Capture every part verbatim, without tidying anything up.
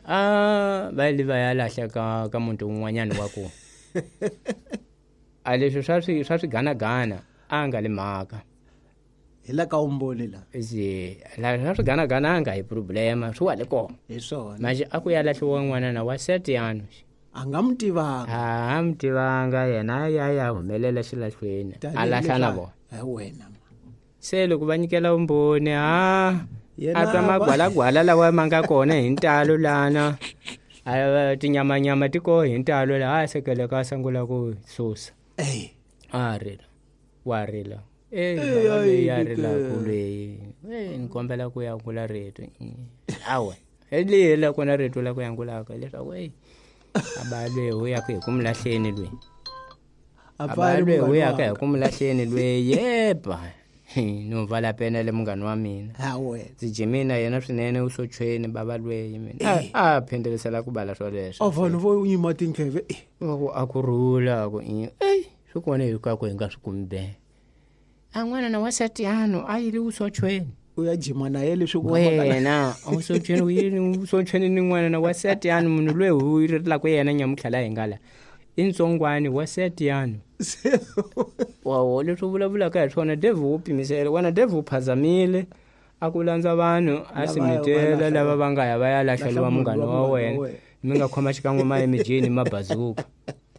A va li va ya lahla ka ka muntu un'wanyana wa ku. A leswi swa swi swa swiganagana a nga le mhaka. Hi la ka umboni la. Zi la swa swiganagana a nga hi problema swi wa le kona. Hi swona. Manje a ku ya lahliwa n'wana na wa Setiano. A nga mi tivanga. A mi tivanga yena ya ya humelela xilahlweni. A lahla na vona. Hi wena. Se loko va nyikela vumbhoni ha a twa magwalagwala lawa ma nga kona hi ntalo lana. A tinyamanyama ti koho hi ntalo laha a sekeleka a sungula ku susa. Eh. A rila. Wa rila. Eh, leyi ya rila ku leyi. Eh, ni kombela ku ya ngula rito. Awe. Hi la kona rito la ku ya ngulaka leswaku eh a ba lweyi u ya ku hi ku mi lahleni lweyi. A ba lweyi u ya ka hi ku mi lahleni lweyi yeba. No vala pena le munghana wa mina. Ha wena. Ndzi jimina yena swinene u sochweni baba lweyi mina. A phendelisela ku bala swoleswo. A vanhu vo yima tindleve. Va ku a ku rhula ku eh swi kona hi ka ku hi nga swi kumi be. A n'wana na wa Setiano a yile u sochweni. U ya jima na yena leswi ku wena u sochweni u yini u sochweni ni n'wana na wa Setiano munhu loyi u rilaka ku yena nyamutlha la hi nga la. I ntsongwani wa Setiano. Wa leswi vulavulaka hi swona Dave u pimisela wena Dave u phazamile a ku landza vanhu a simitela lava va nga ya va ya lahleliwa munghana wa wena mi nga khoma xikan'we ma emijini mabazuka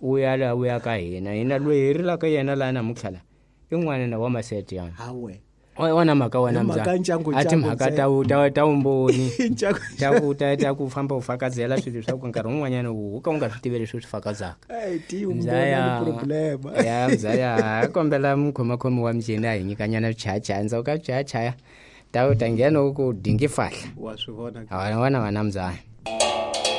u ya la u ya ka hina hina loyi hi rilaka yena laha namuntlha la i n'wana na wa Masetiano. Ha wena. Wona mhaka wena mzala a timhaka ta ta ta vumbhoni ta ku ta ta ku famba u fakazela swilo swa ku nkarhi wun'wanyana u ka u nga swi tivi leswi u swi fakazaka. Eh ti umbhoni problema. Ya mzaya kombela mukhomakhomi wa mjini a hi nyikanyana swichayachaya ndzhaku ka swichayachaya ta u ta nghena u ku dingi fahla. Wa swi vona. A wona wena mzaya.